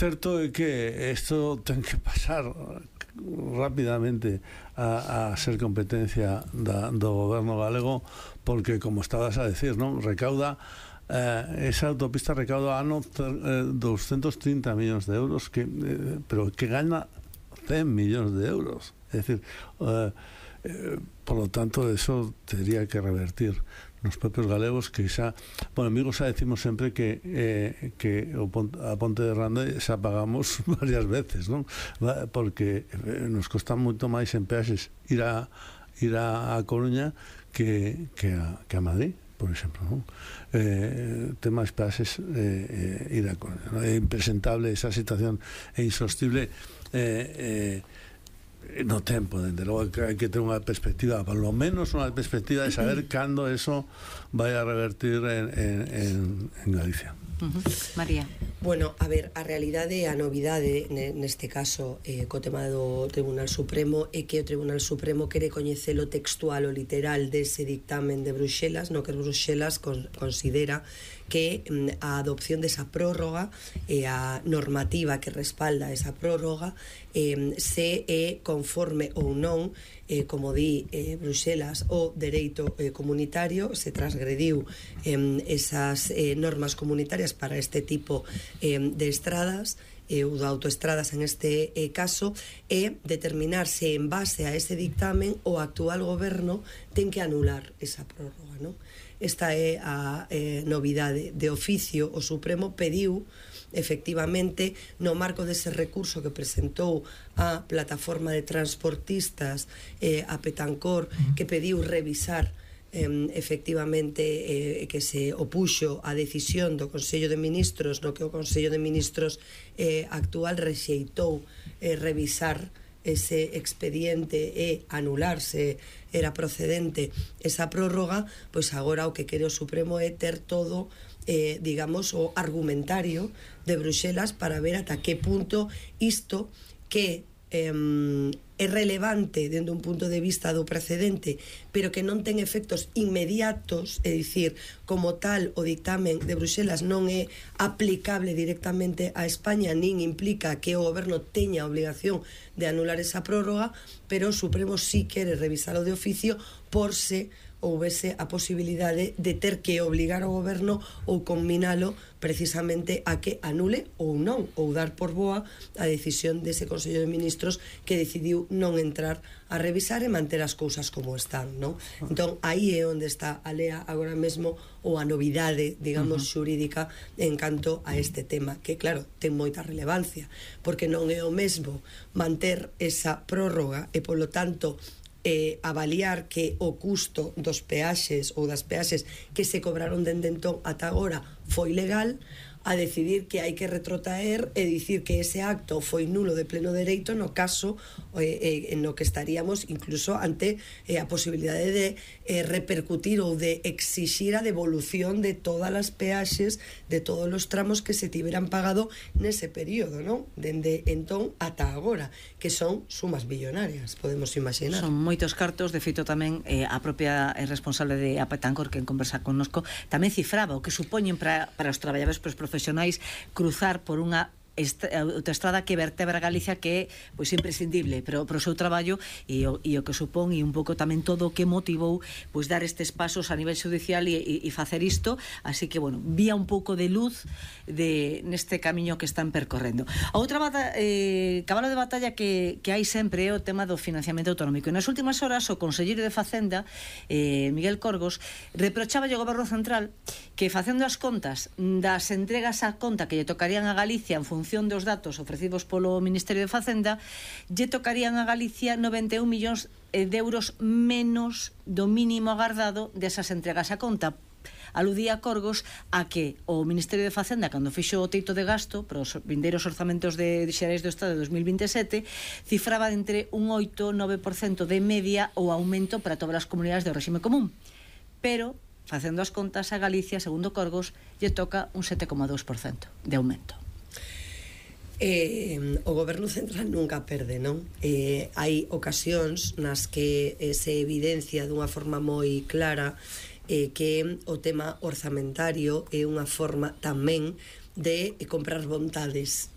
certo é que isto ten que pasar rapidamente a ser competencia do goberno galego, porque, como estabas a decir, non recauda esa autopista recauda ano 230 millóns de euros, pero que gana 100 millóns de euros. É dicir, por lo tanto, eso tendría que revertir nos propios galegos, que xa, bueno, amigos, xa decimos sempre que a Ponte de Rande xa pagamos varias veces, non? Porque nos costa moito máis en peaxes ir a Coruña que a Madrid, por exemplo, non? Ten máis peaxes ir a Coruña, non? É impresentable esa situación, é insostible no tempo, dende logo que hai que ter unha perspectiva, por lo menos unha perspectiva de saber cando eso vai a revertir en Galicia. María. Bueno, a ver, a realidade, a novidade neste caso co tema do Tribunal Supremo é que o Tribunal Supremo quere coñecer o textual, o literal dese dictamen de Bruxelas, no que Bruxelas considera que a adopción desa prórroga e a normativa que respalda esa prórroga se é conforme ou non, como di Bruxelas, o dereito comunitario, se transgrediu esas normas comunitarias para este tipo de estradas ou de autoestradas en este caso, e determinar se en base a ese dictamen o actual goberno ten que anular esa prórroga, non? Esta é a novidade. De oficio, o Supremo pediu efectivamente, no marco dese recurso que presentou a plataforma de transportistas a Petancor, que pediu revisar efectivamente que se opuxo a decisión do Consello de Ministros, no que o Consello de Ministros actual rexeitou revisar ese expediente e anularse era procedente esa prórroga, pois agora o que quere o Supremo é ter todo digamos, o argumentario de Bruxelas para ver ata que punto isto que é relevante dende un punto de vista do precedente, pero que non ten efectos inmediatos, é dicir, como tal o dictamen de Bruxelas non é aplicable directamente a España, nin implica que o goberno teña a obligación de anular esa prórroga, pero o Supremo sí quere revisalo de oficio por se houvese a posibilidade de ter que obligar ao goberno ou combinalo precisamente a que anule ou non, ou dar por boa a decisión dese Consello de Ministros que decidiu non entrar a revisar e manter as cousas como están, non? Entón, aí é onde está a lea agora mesmo, ou a novidade, digamos, xurídica en canto a este tema, que claro, ten moita relevancia, porque non é o mesmo manter esa prórroga e, polo tanto, avaliar que o custo dos peaxes ou das peaxes que se cobraron dende entón ata agora foi legal, a decidir que hai que retrotraer e dicir que ese acto foi nulo de pleno dereito no caso no que estaríamos incluso ante a posibilidade de repercutir ou de exixir a devolución de todas as peaxes, de todos os tramos que se tiveran pagado nese período, non? Dende entón ata agora, que son sumas billonarias, podemos imaginar. Son moitos cartos, de feito tamén a propia responsable de Apetancor que en conversa connosco tamén cifraba o que supoñen para os traballadores, para os profesionais, cruzar por unha autoestrada que vertebra Galicia, que é pois imprescindible pero o seu traballo e o que supón, e un pouco tamén todo o que motivou pois dar estes pasos a nivel judicial e facer isto, así que bueno, vía un pouco de luz neste camiño que están percorrendo. A outra cabalo de batalla que hai sempre é o tema do financiamento autonómico, e nas últimas horas o conselleiro de Facenda, Miguel Corgos, reprochaba ao goberno central que facendo as contas das entregas a conta que lle tocarían a Galicia en función dos datos ofrecidos polo Ministerio de Facenda, lle tocarían a Galicia 91 millóns de euros menos do mínimo agardado desas entregas a conta. Aludía Corgos a que o Ministerio de Facenda, cando fixo o teito de gasto para os vindeiros orzamentos xerais do Estado de 2027, cifraba entre un 8-9% de media o aumento para todas as comunidades do réxime común, pero facendo as contas a Galicia, segundo Corgos, lle toca un 7,2% de aumento. O goberno central nunca perde, non? Hai ocasións nas que se evidencia dunha forma moi clara que o tema orzamentario é unha forma tamén de comprar vontades